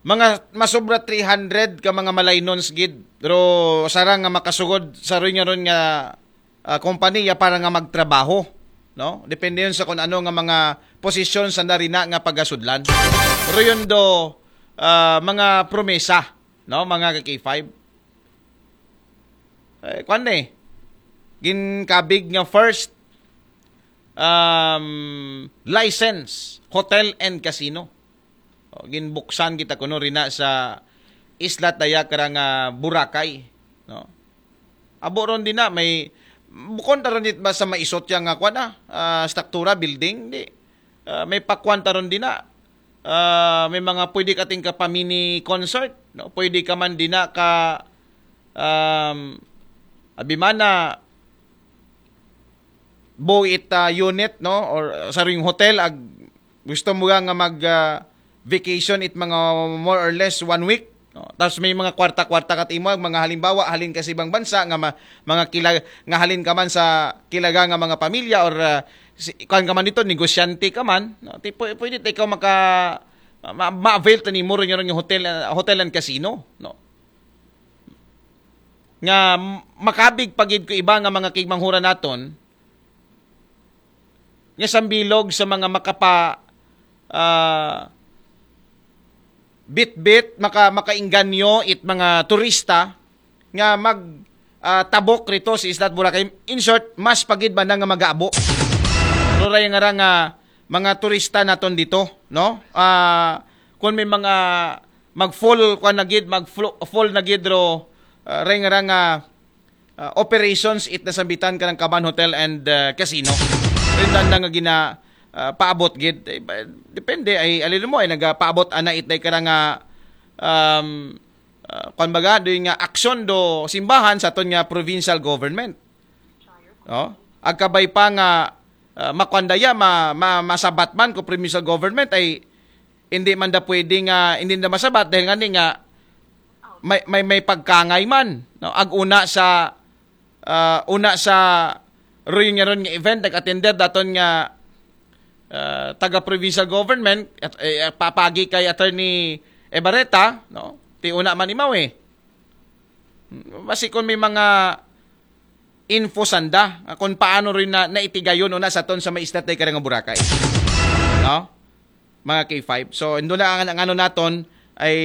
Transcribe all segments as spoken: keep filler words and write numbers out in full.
mga masobra three hundred ka mga malaynons gid, pero sarang nga makasugod sa ron nga ron nga ah, kompanya para nga magtrabaho, no? Depende yun sa kung ano nga mga posisyon sa narina nga pagasudlan. Pero yun do, ah, mga promesa, no, mga ka-K five. Eh, kwan eh, ginkabig nga first um, license, hotel and casino. O, ginbuksan kita kuno rina sa isla taya karang ah, Boracay, no? Abo ron dina may bukon ta ron it ba sa maisot ya nga kwan ah, ah, struktura, building, di. Ah, may pakwan ta ron dina. Ah, may mga pwede ka ting ka pa mini concert, no? Pwede ka man dina ka um, abi man na buo it ah, unit, no, or uh, sa ring hotel ag gusto mo nga mag ah, vacation it mga more or less one week, no? Tapos may mga kwarta-kwarta kat imo, mga halimbawa halin ka sa ibang bansa nga ma- mga kila nga halin ka man sa kilaga nga mga pamilya or ah, si, kuan ka man dito, negosyante ka man, no? Ti pwe- pwede ta ikaw maka ma- ma-avail ta nimo ron yung hotel ah, hotel and casino, no? Nga m- makabig pagid ko iba nga mga kigmanghura naton nga sambilog sa mga makapa ah, bitbit, maka makainganyo it mga turista nga mag ah, tabok rito sa Isla Boracay. In short, mas pagid ba na nga mag-aabo? Pero ray nga ra nga mga turista naton dito, no? Ah, kung may mga mag-fall kwa na gid, mag-fall na gid ro, ah, ray nga ra nga ah, operations it nasambitan ka ng Kaban Hotel and ah, Casino. Rin na nga gina ah, paabot gid. Eh, ba- depende ay alin mo ay nagapaabot ana it day ka nga um, ah, kwan baga, doy nga aksyon do simbahan sa aton nga provincial government. No? Agkabay pa nga ah, makwandaya ma, ma, masabat man ko provincial government ay hindi man da pwede nga hindi da masabat dahil nga ni nga may may, may pagkangay man, no? Ag una sa ah, una sa reunion nga event nag-attender daton nga ah, taga provincial government at eh, papagi kay Attorney Ebareta, no? Ti una man imaw eh. Basi kung may mga info sanda ah, kung paano rin na naitigayon una sa ton sa may isla tay karang Boracay. No? Mga K five. So, indo na ang, ang ano naton ay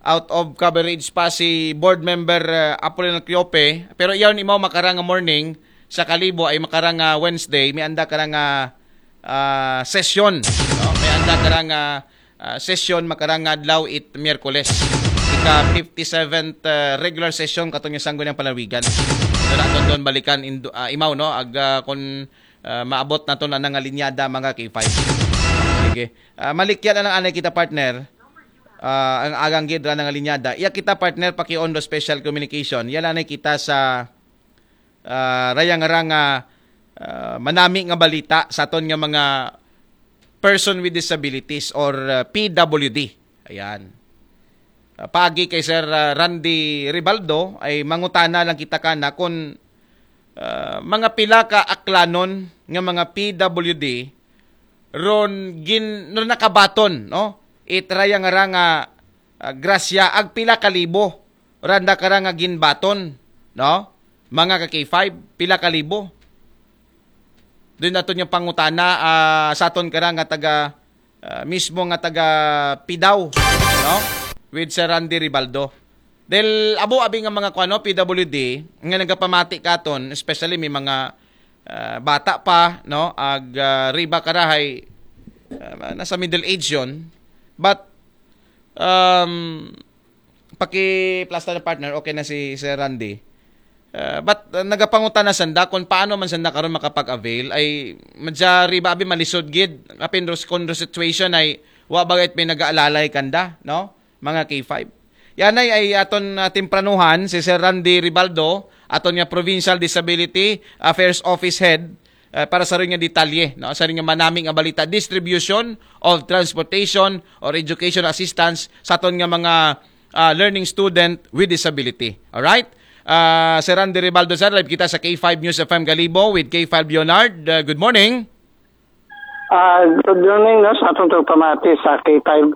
out of coverage pa si board member uh, Apolinar Cleope. Pero iyaw ni mo makarang morning sa Kalibo ay makarang uh, Wednesday, may anda karang uh, uh, session. No? May anda karang uh, uh, session makarang adlaw it Miyerkules. Ika fifty-seventh uh, regular session katong yung sanggo ng palawigan. Ito na doon balikan indo, uh, imaw no ag uh, kung uh, maabot na to na nangalinyada mga K five. Sige. Uh, malikya na lang anay kita partner. Uh, ang agang gid ra nangalinyada. Iya kita partner paki-on do special communication. Yala na kita sa uh, rayang rang uh, uh, manami nga balita sa aton nga mga person with disabilities or uh, P W D. Ayan. Uh, paagi kay Sir uh, Randy Ribaldo ay mangutana lang kita kana kung uh, mga pila ka aklanon nga mga P W D ron gin ron nakabaton no itraya nga ra nga uh, grasya ag pila ka libo randa kara nga ginbaton no mga ka K five pila ka libo. Doon nato yung pangutana uh, sa aton kara nga taga uh, mismo nga taga Pidaw no with Sir Randy Ribaldo. Dahil abo abi nga mga kuano P W D nga nagapamati katon, especially may mga uh, bata pa no ag uh, riba karahay uh, nasa middle age yon. But um paki-plasta na partner, okay na si Sir Randy. Uh, but uh, nagapangutan na sanda kung paano man sanda karon makapag-avail ay madya riba abi malisod gid apin ros kon situation ay wa bagay may nagaalalay kanda no mga K five. Yan ay, ay aton uh, tempranuhan si Sir Randy Ribaldo aton nga Provincial Disability Affairs Office Head uh, para sa rin nga detalye no sa rin nga manami nga balita distribution of transportation or education assistance sa aton nga mga uh, learning student with disability. All right? Uh, Sir Randy Ribaldo, sir, live kita sa K five News F M Galibo with K five Leonard. Uh, good morning. Uh, good morning no, sa atong pamati sa K five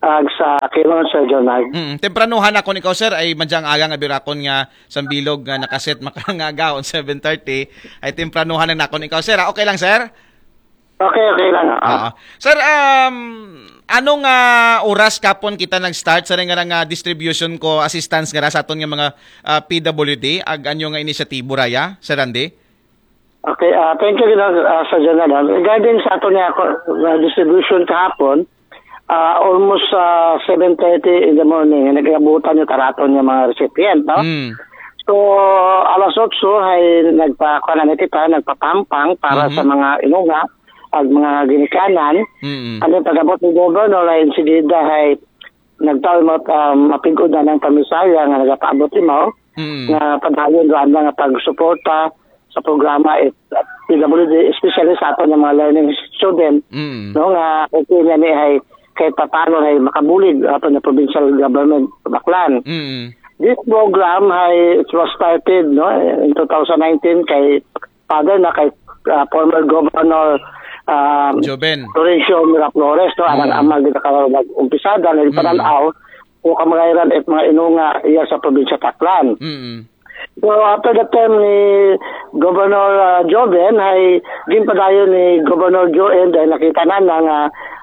Ag sa kilon, Sir Jonard. Mm, tempranuhan ako nikaw, sir, ay madyang aga nga birakon nga sambilog nga nakaset makangagaon seven thirty, ay tempranuhan na nakon ikaw, sir, ah. Okay lang, sir? Okay, okay lang. Ah. Oo. Sir, um, ano nga oras kapon kita nag-start sa nga nga distribution ko assistance nga sa aton nga mga ah, P W D, ag anyo nga inisyatibo raya, Sir Randy? Okay, ah, thank you, Ginoong, ah, sa General. Regarding sa ato niya uh, distribution kahapon, ah, almost uh, seven thirty in the morning, nagabutan yung taraton niya mga recipient, no? Mm. So, alas otso ay nagpa, kuwan na kita, nagpapampang para Mhm. sa mga inunga at mga ginikanan. Mm. Ano pag-abot ni Governor ay insigida ay nagtaon mo uh, mapigod na ng pamisaya nga nagapaabot imaw Mm. nga padayon doon nga pagsuporta sa programa at P W D, especially sa ato ng mga learning student, Mm. no, nga okay na ni ay kahit papano ay makabulig ato ng provincial government baklan. Mm. This program ay it was started, no, in two thousand nineteen kay father na kay uh, former governor uh, Joven. Florencio Miraflores, no, ang Mm. ama gid ka nag-umpisada na yung Mm. pananaw o kamagayran at mga inunga iya sa probinsya Taclan. Mm. So after the term ni Governor uh, Joven, ay ginpadayon ni Governor Joel dahil nakita na na nga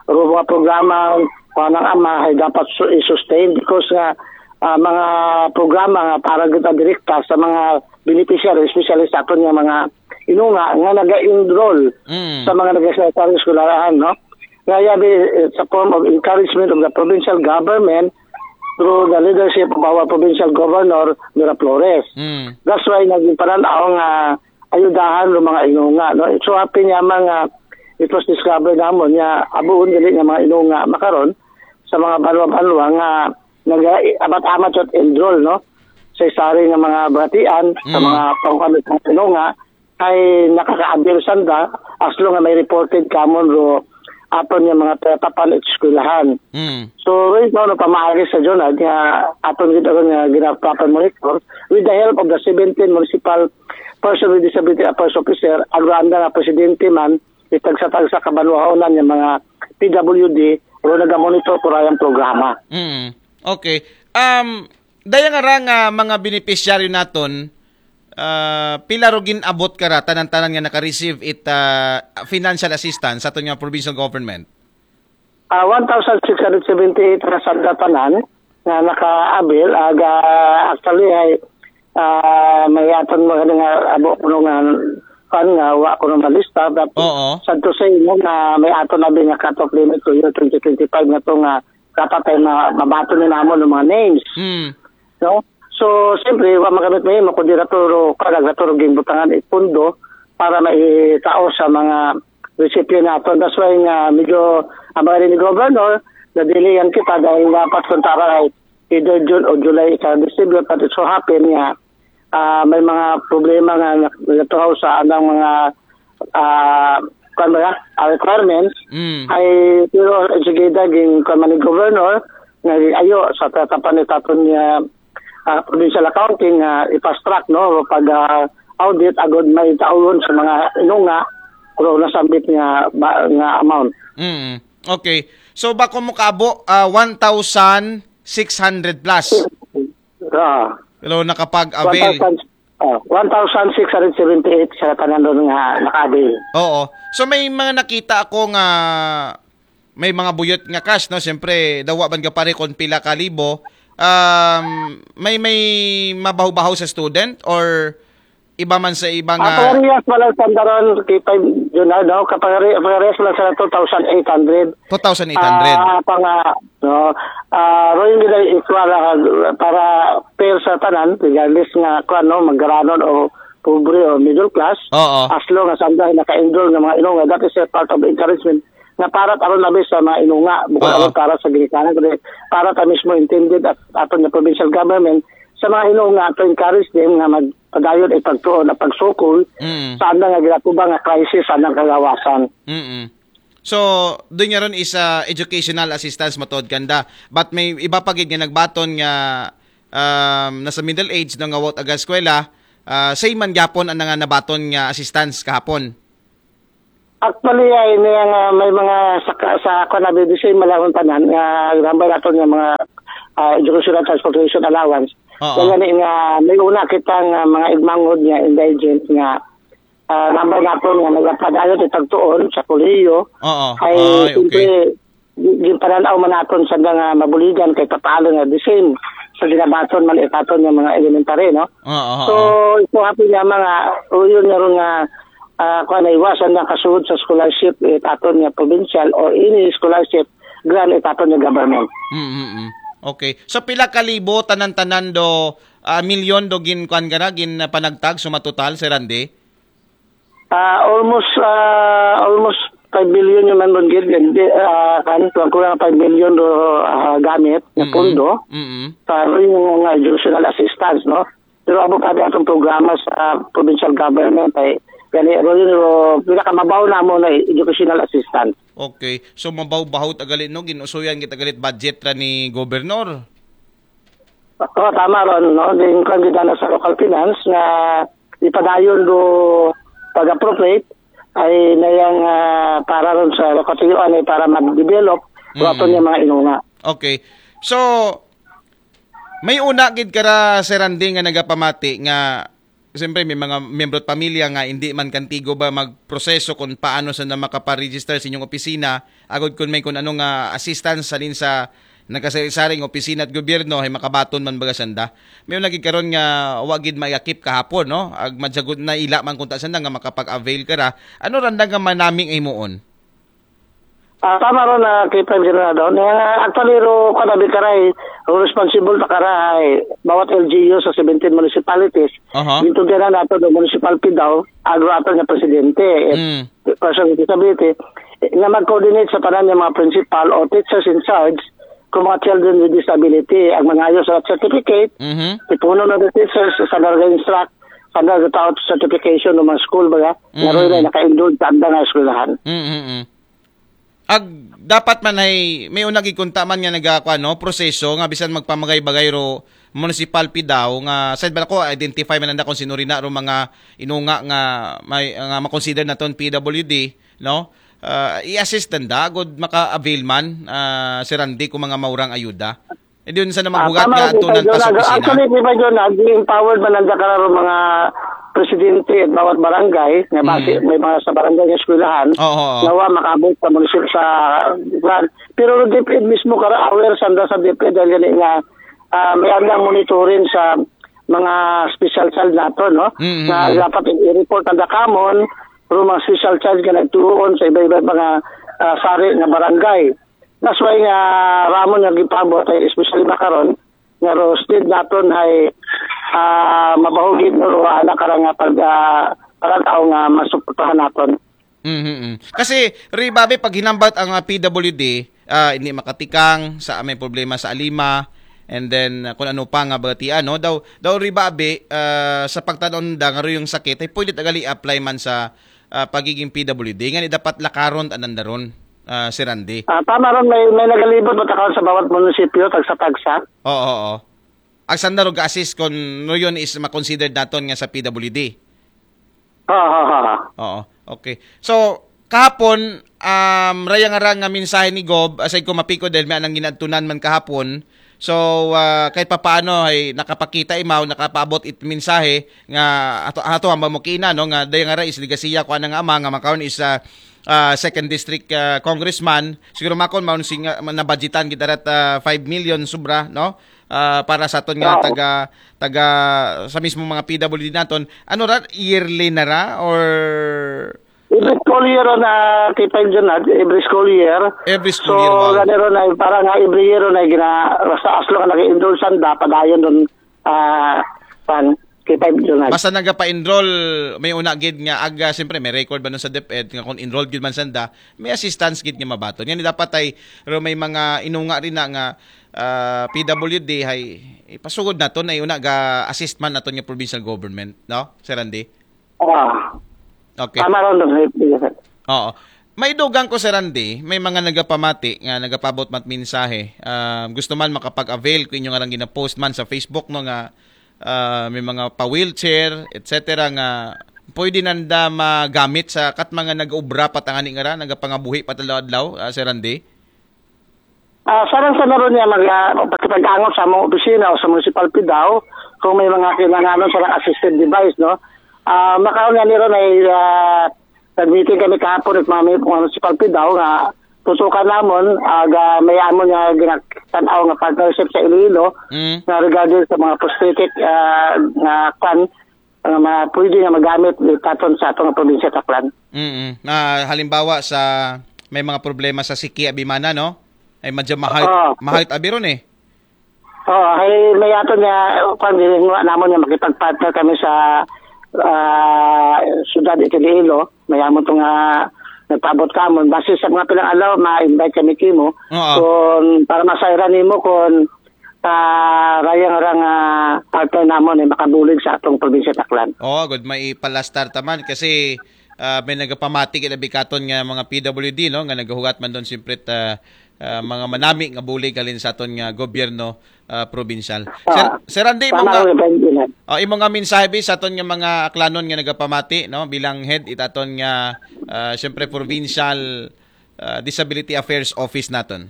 ro mga programa kuan ang ama ay dapat su- i-sustain because nga ah, mga programa nga para kita direkta sa mga beneficiary, especially sa aton nga mga inunga nga naga-enroll Mm. sa mga nag-secondary eskwelahan, no? Nga yabi eh, sa form of encouragement of the provincial government through the leadership of our provincial governor, Miraflores. Mm. That's why naging pananaw nga ayudahan ng mga inunga, no? It so happen nga mga it was discovered namon nga abuon dili nga mga inunga makaron sa mga banwa-banwa nga nag-amat-amat at enroll, no? Sa isari nga mga batian, sa Mm. mga pangkano sa inunga, ay nakaka-avail sanda as long as may reported kamon ro aton nga mga tatapan at eskwelahan. Mm. So, right now, no, pamaagi sa John, at nga aton gid aron nga ginapapan monitor with the help of the seventeen municipal person with disability affairs officer, agranda nga presidente man, itagsa-tagsa kabanwahonan nga mga P W D, ro nagamonitor ko rayang programa. Mm. Okay. Um, daya nga ra nga mga beneficiary naton, ah, pila ro gin-abot ka ra tanan-tanan nga naka-receive it ah, financial assistance sa aton nga provincial government? Ah, one thousand six hundred seventy-eight ra sa tanan nga naka-avail, aga actually ay ah, may aton mo nga abo kuno nga kan nga wa kuno malista, but Oo. Sa to say mo nga may aton na nga cut-off limit to year twenty twenty-five nga to nga dapat ay ma- mabato ni namon ng mga names, Mm. no? So, siyempre, wa magamit mo yun, kung di naturo, kung nagturo ging butangan ipundo para maitao sa mga recipient nato. That's why nga medyo ang mga ni Governor, nadilihan kita dahil dapat kung tara ay either June o July sa distribute, but it so happen nga ah, may mga problema nga nag- natuhaw sa anang mga ah, kuwan ba, ah, requirements. Mm. Ay, pero sige, daging kuwan man ni Governor, nga ayo sa tatapan ni taton niya ah, provincial accounting nga i-fast track, no, pag ah, audit agod may taon sa mga inunga pero nasambit nga ba, nga amount. Mm. Okay. So bako mo kaabo ah, one thousand six hundred plus. Ah, Pero nakapag-avail. one thousand, ah, one thousand six hundred seventy-eight sa tanan doon nga naka-avail. Oo. So may mga nakita ako nga may mga buyot nga cash, no? Siyempre, dawa ban ka pare kung pila ka libo. Um, may may mabaho-baho sa student or iba man sa iba Ang nga parehas pala sa Sandaran, kita yun na, no? Kapare, parehas pala sa two thousand eight hundred. two thousand eight hundred. Ah, pang, ah, no? Ah, Roy, hindi na equal ah, para fair sa tanan, regardless nga kung ano, magaranon o pobre o middle class, Oo. as long as ang dahil naka-enroll ng mga inunga, that is a part of encouragement nga para aron labi sa mga inunga, bukod Oo. aron para sa ginikanan, kundi para ta mismo intended at aton nga provincial government sa mga inunga to encourage them nga magpadayon ay pagtuon at pagsukol Mm. sa andang nga ginatubang nga crisis sa andang kagawasan. Mm. So, doon nga ron is ah, educational assistance matod kanda. But may iba pa gid nga nagbaton nga um, nasa middle age no nga wot aga eskwela, ah, same man gyapon ang nga nabaton nga assistance kahapon. Actually, ay niya nga may mga sa, sa kuan na bibisay malawang tanan nga number naton nga mga ah, educational transportation allowance. Oo. Kaya ni nga may una kita nga mga igmangod nga indigent nga ah, number naton nga nagapadayon itagtuon sa kolehiyo. Oo. Ay, Ay, siyempre, okay. gi- ginpananaw man naton sa nga mabuligan kay papaalo nga the same sa ginabaton man itaton nga mga elementary, no? Oo. So, Oo. ito happy nga mga uyon nga ron nga ah, kuan na iwasan nga kasud sa scholarship itaton nga provincial or any scholarship grant itaton nga government. Mm, mm, mm. Okay. So pila ka libo tanan-tanan do ah, milyon do gin kuan ka na, gin ah, panagtag suma total, Sir Randy? Ah, almost ah, almost five billion yung man ron gid. Hindi, ah, kan kuan, kulang five billion do ah, gamit na Mm. pondo Mm. sa yung mga educational assistance, no? Pero amo pa atong programa sa provincial government ay gani ro yun ro pinakamabaw na mo na educational assistance. Okay. So mabaw-baho ta gali, no, ginusuyan kita galit budget ra ni governor. Oo, tama ron, no? Din kan gid na sa local finance nga ipadayon do pag-appropriate ay nayang ah, para ron sa lokatiyuan ay para mag-develop Mm. ato niya mga inuna. Okay. So may una gid kara, Sir Randy, nga nagapamati nga siyempre may mga miyembro at pamilya nga hindi man kantigo ba magproseso kung paano sa na makaparegister sa inyong opisina, agod kung may kung ano nga assistance halin sa nagkasari-saring opisina at gobyerno ay makabaton man baga sanda. May una gid karon nga wa gid maakip kahapon, no? Ag madsagod na ila man kunta sanda nga makapag-avail kara. Ano randa nga manaming ay muon? Ah, tama ron na kay Prime General daw. Na, actually, ro, kada bikaray, ro responsible ta karay, bawat L G U sa seventeen municipalities. Aha. Dito din na nato do municipality daw, agro ato nga presidente. Eh, Mm. Person with disability, eh, nga mag-coordinate sa tanan nga mga principal o teachers in charge kung mga children with disability. Ang mangayo sa certificate, Mhm. ipuno na the teachers sa nag-instruct, sa nag-out certification ng mga school ba nga, Mhm. nga ro na naka-enroll sa andang nga eskwelahan. Mm, mm, mm. Ag dapat man ay may una gid kunta man nga nagakuan, no, proseso nga bisan magpamagay-bagay ro municipal P daw nga side ba ko identify man nanda kung sino rin na ro mga inunga nga may nga makonsider naton P W D, no? Ah, i-assist nanda gud maka-avail man ah, si Randy kung mga maurang ayuda. E diyon sa na maghugat Ah, tama nga rin, tunan Tito pa sa Leonardo. opisina. Actually, Tito Leonardo, empowered man nanda kararo mga presidente at bawat barangay, nga basi Mm. may mga sa barangay nga eskwelahan, Oo, oo. nga wa makaabot sa munisipyo sa kuan. Pero DepEd mismo kara aware sanda sa DepEd dahil gani nga ah, may andang monitoring sa mga special child nato, no? Mm, Nga mm. dapat i-report ang dakamon, pero mga special child nga nagtuon sa iba-iba mga ah, sari nga barangay. That's why nga ramon nga gipabot ay especially makaron nga ro state naton ay ah, mabahugit no ro ana karang nga pag ah, pagkatao nga masuportahan naton. Mhm. Kasi ri babe pag hinambat ang ah, P W D, ah, hindi makatikang sa may problema sa alima and then ah, kung ano pa nga bagatian, no? Daw daw ri babe ah, sa pagtanon da nga yung sakit ay pwede tagali apply man sa ah, pagiging P W D. Nga ni dapat lakaron tanan daron, ah, si Randy. Ah, tama ron, may, may nagalibot mo takaw sa bawat munisipyo, tagsa-tagsa. Oo, oo. Ang sanda ro ga-assist kung no yun is ma-considered naton nga sa P W D. Ha, ha, ha, ha. Oo. Okay. So, kahapon, um, raya nga ra nga mensahe ni Gob, aside ko mapiko dahil may anang ginadtunan man kahapon. So, ah, kahit papaano ay nakapakita imaw, nakapaabot it mensahe nga ato ato ang mamukina, no, nga daya nga ra is legasiya ko anang ama nga makaron is ah, ah, second district ah, congressman, siguro makon maun si nga nabudgetan kita rat ah, five million sobra, no? Ah, para sa aton nga Oo. taga taga sa mismo mga P W D naton. Ano ra, yearly na ra or Every school year na kay Pine Junad, every school year. Every school So, year, wow. gani ron ay, para nga every year ron ay gina, basta as long nag-enroll sanda, padayon ron, ah, pan, kay Pine Junad. Basta nagapa-enroll, may una gid nga aga, siyempre may record ba nun sa DepEd nga kung enrolled gid man sanda, may assistance gid nga mabaton. Yan dapat ay, pero may mga inunga rin na nga ah, P W D ay ipasugod naton ay una ga-assist man naton nga provincial government, no? Sir Randy? Ah, Okay. tama ron, sir. Oo. May dugang ko, Sir Randy, may mga nagapamati nga nagapabot mat mensahe. Ah, gusto man makapag-avail ko inyo nga lang gina-post man sa Facebook, no, nga ah, may mga pa-wheelchair, et cetera nga pwede nanda magamit sa kat mga nag-ubra pa tangani nga ra, nagapangabuhi pa adlaw-adlaw, ah, Sir Randy? Ah, sarang sa naroon niya mag uh, pakipag-angot sa among opisina o sa municipal Pidao kung may mga kinahanglan sa assistive device, no? Ah, makaon nga niro may ah, nag-meeting kami kahapon at mga municipal Pidao nga tutukan namon aga may amon nga ginatanaw nga partnership sa Iloilo Mm. na regarding sa mga prosthetic ah, nga kan nga mga pwede nga magamit itaton sa atong probinsya Taklan. Mm. Ah, halimbawa sa may mga problema sa siki abimana, no? Ay madya mahal Oo. mahal abi ron eh. Oh, ay may ato niya kung ginagawa namon nga makipag-partner kami sa ah, syudad Iloilo. May amon to nga nagpaabot kamon base sa mga pilang adlaw ma-invite kami kimo Oo. Kung para masayran nimo kung parayang ra nga partner namon ay makabulig sa atong probinsya Taklan. Oo, good, may ipalastar taman kasi ah, may nagapamati gid abi katon nga mga P W D, no, nga nagahugat man doon siyempre ta ah, mga manami nga bulig halin sa aton nga gobyerno ah, probinsyal. Sir, Ah, Sir Randy, imo Tama nga ko yung Benjamin. Oh, imo nga mensahe bi sa aton nga mga aklanon nga nagapamati, no, bilang head itaton nga ah, siyempre provincial ah, Disability Affairs Office naton.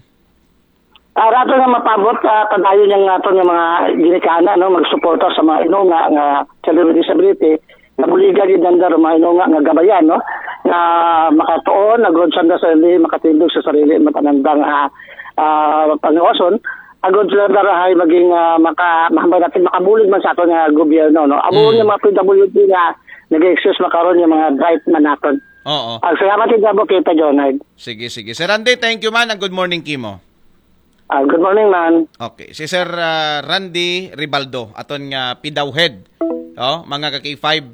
Ah, rato nga mapabot ah, padayon yang aton nga mga ginikanan no magsuporta sa mga inunga nga sa disability nabuligan gid nanda ro mga inunga nga gabayan no nga makatuon agod sanda sa sarili makatindog sa sarili matanandang ah, ah, pangawason agod sanda rahay maging ah, maka mahambay natin makabulig man sa aton nga gobyerno no amo Mm. nga mga P W D nga nag-exist makaron nga mga bright man naton. Oo. Ang salamat gid namo kay Pedro Nard. Sige, sige. Sir Randy, thank you man. And good morning kimo. Ah, good morning man. Okay, si Sir ah, Randy Ribaldo, aton nga Pidao head. Oh, mga ka K five.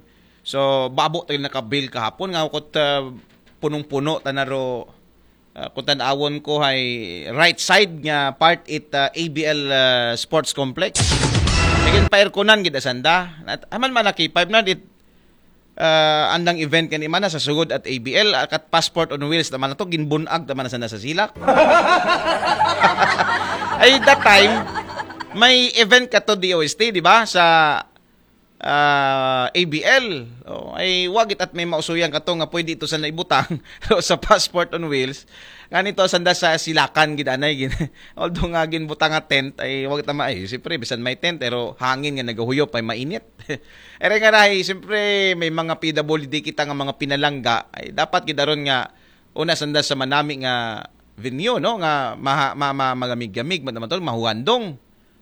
So, babo tayo nakabil kahapon nga kot ah, punong-puno tanaro ah, kung tanawon ko ay right side nga part it ah, A B L ah, Sports Complex. Naging pa-airconan gid asanda. At aman man na K five na dit ah, andang event kani man sa sugod at A B L ah, kat Passport on Wheels naman na to ginbunag naman na sana sa silak. Ay that time may event ka to D O S T, di ba? Sa ah, A B L. Oh, ay wagit at may mausuyan ka to nga pwede ito sa naibutang sa Passport on Wheels. Nga nito sanda sa silakan gid anay gin. Although nga ginbutang nga tent ay wagit na ay siyempre bisan may tent pero hangin nga nagahuyop ay mainit. Ere nga rahi, siyempre may mga P W D kita nga mga pinalangga ay dapat gid aron nga una sanda sa manami nga venue no nga maha, ma, ma, magamig-gamig man naman tol mahuwandong.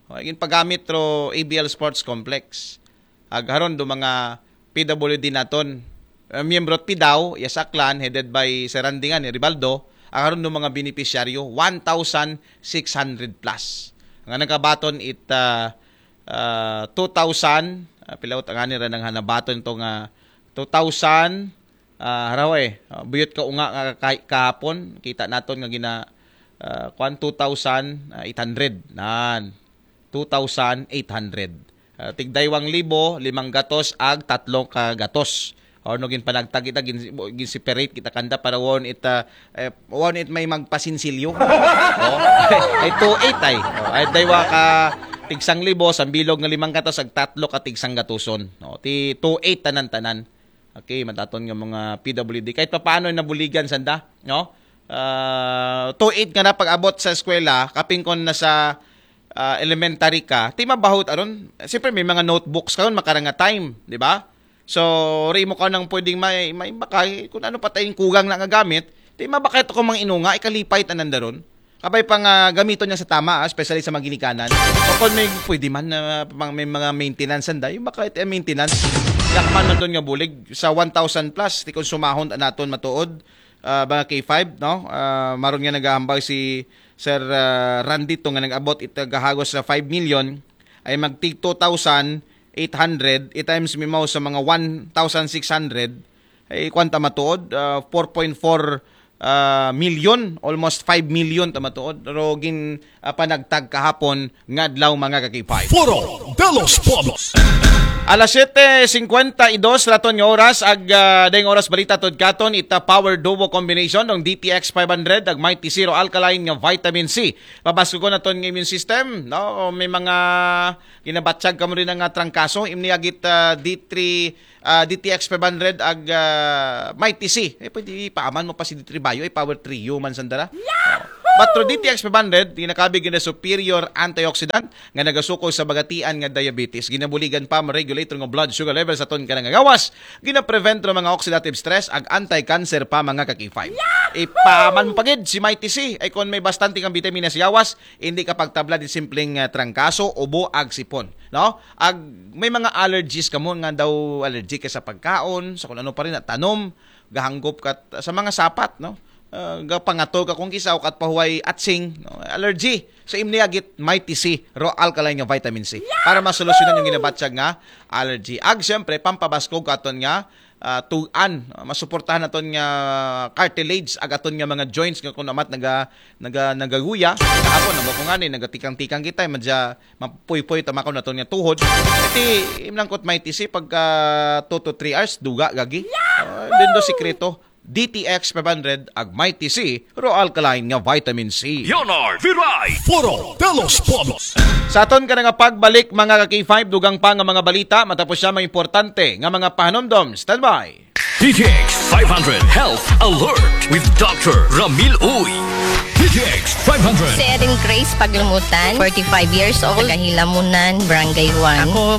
O, gin pagamit ro A B L Sports Complex. Ag haron do mga P W D naton. Uh, miyembro P D A W, iya sa Aklan, headed by Sir Randy nga ni Ribaldo, ag haron do mga benepisyaryo, one thousand six hundred plus. Nga nagkabaton it uh, uh, two thousand, uh, pila ang ani ra nang hanabaton to nga two thousand, uh, haraw eh, uh, buyot ka unga nga kay kahapon, kita naton nga gina uh, kwan two thousand eight hundred. Nan. Two thousand eight hundred. Uh, tigdaywang libo, limang gatos, ag tatlong ka gatos. Or no ginpanagtag kita gin, gin separate kita kanda para won it uh, eh, won it may magpasinsilyo. Oh. Ay two eight ay. Oh, ay daywa ka tigsang libo, sambilog nga limang gatos, ag tatlo ka tigsang gatuson. No, ti two eight tanan-tanan. Okay, mataton nga mga P W D. Kahit papaano nabuligan sanda, no? Uh, two eight nga na pag-abot sa eskwela, kaping kon nasa uh, elementary ka, ti mabahot aron. Siyempre may mga notebooks karon makarang nga time, di ba? So, ri mo ka nang pwedeng may, may bakay, kung ano pa tayong kugang na nga gamit, ti mabakay to kung mga inunga, ikalipay tanan daron. Kabay pa nga gamiton niya sa tama, ah, especially sa mga ginikanan. O kung may pwede man na pang may mga maintenance anday, baka ito maintenance. Yakman man doon nga bulig sa one thousand plus, ti konsumahon ta naton matuod, ah, mga K five, no? Ah, maron nga nagahambal si Sir ah, Randy to nga nag-abot ita gahagos sa five million, ay magtig two thousand eight hundred, i-times mi mao sa mga one thousand six hundred, ay kwanta matuod, ah, four point four ah, milyon, almost five million ta matuod. Pero gin ah, panagtag kahapon nga adlaw, mga ka-K five. Foro de los Pueblos. Alas siyete singkwenta y dos raton nga oras, ag ah, dayong oras balita tod katon, ita power duo combination ng D T X five hundred ag Mighty C Ro Alkaline nga vitamin C. Pabaskugon naton nga immune system, no? May mga ginabatyag kamo rin nga trangkaso, imni agit ah, D three ah, D T X five hundred ag ah, Mighty C. Eh, pwede ipaaman mo pa si D three Bio, eh, power trio man sandara. But through D T X five hundred, ginakabig nga superior antioxidant nga nagasuko sa bagatian nga diabetes. Ginabuligan pa, ma-regulate nga blood sugar level sa aton kanang gawas. Gina-prevent ra mga oxidative stress ag anti-cancer pa, mga ka-K five. Ipaaman mo pagid si Mighty C. Ay, kung may bastante kang vitamina sa gawas, hindi ka pagtabla di simpleng ah, trangkaso, ubo ag sipon, no? Ag may mga allergies kamo nga daw allergic ka sa pagkaon, sa kung ano pa rin, tanom, gahanggop ka sa mga sapat, no? Ah, gapangatol ka kung kisa o kat pahuway atsing, no? Allergy. So, imni agit Mighty C Ro Alkaline nga vitamin C para masolusyonan yung ginabatyag nga allergy. Ag siyempre, pampabaskog aton nga ah, tugan, ah, masuportahan aton nga cartilage ag aton nga mga joints nga kung amat naga naga nagaguya. Kahapon na mo ko nga ni nagatikang-tikang kita, madya mapuypoy tamakon naton nga tuhod. Iti imnangkot Mighty C pagka two to three hours duga gagi. Ah, dindo sikreto. D T X five hundred ag Mighty C Ro Alkaline nga vitamin C. Leonard Viray. Foro de los Pueblos. Sa aton ka nga pagbalik, mga ka-K five, dugang pa nga mga balita matapos siya mga importante nga mga pahanumdom. Standby. D T X five hundred Health Alert with Doctor Ramil Uy. D T X five hundred. Si Erin Grace Paglumutan, forty-five years old, taga Hilamunan, Barangay one. Ako,